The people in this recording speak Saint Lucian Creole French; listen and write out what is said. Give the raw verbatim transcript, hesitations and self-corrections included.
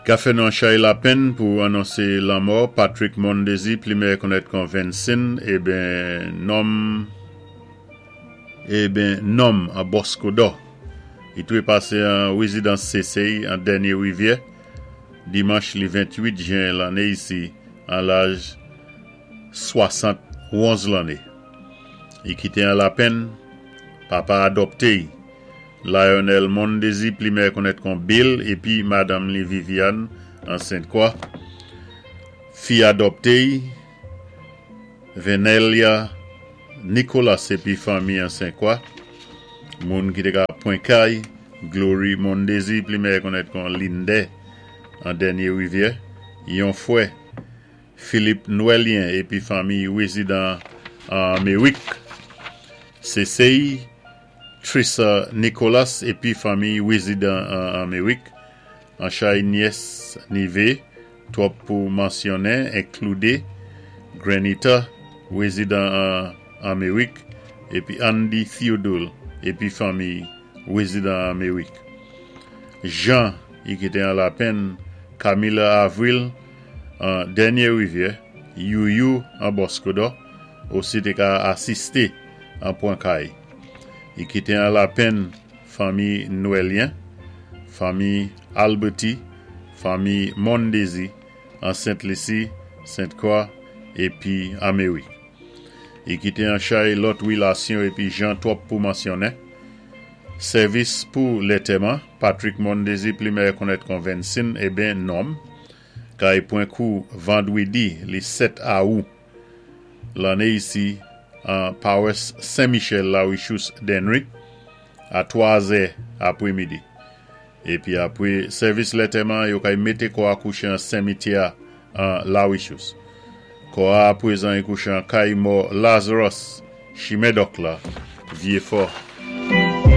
Ka fè nou an chay lapenn pou anonsé lanmò Patrick Mondesir, pli meyè konnèt kon Vincent, eben nonm eben nonm an Boscodò. I twé pasé an wézidans Sésey an Dènyé Rivyè dimanch li ventuit jen lanné isi an laj swasant-onz lanné. I kité an lapenn papa adopté Lionel Mondesir, pli meyè konnèt kon Bill, épi madanm li Viviane an Sainte-Croix. Fi adopté Venelia Nicolas épi fanmi an Sainte-Croix. Moun ki té ka pwen kay Glory Mondesir, pli meyè konnèt kon Linde an Dènyé Rivyè. Yon fwè Philippe Noëlien épi fanmi wézidan an Amérik. C C I Trissa Nicolas épi fanmi wézidan an Amérik. An chay nyès nivé, twòp pou mansyonnen, enkloudé Granita wézidan an Amérik épi Andy Theodule épi fanmi wézidan an Amérik. Jean i kité an lapenn Camilla Avril an Dènyé Rivyè, Youyou an Boscodò, osi té ka asisté an Pwen Kay. I kité an lapenn fanmi Noëlien, fanmi Alberti, fanmi Mondesir, an Sainte-Lucie, Sainte-Croix épi Amérik. I kité an chay lòt wilasyon épi jan twòp pou mansyonnen. Sèvis pou lantèman, Patrick Mondesir, pli meyè konnèt kon Vincent, eben nonm, kay pwen kou vandwédi li sèt awou lanné isi an Pawas Saint-Michel La Richous Dennery a twa zè apwémidi. Épi apwé sèvis lantèman, yo kay mété kò a kouché an simityè an La Richous. Kò a apwézan i kouché an kay mò Lazarus Chimèdòk la, Vieux Fort.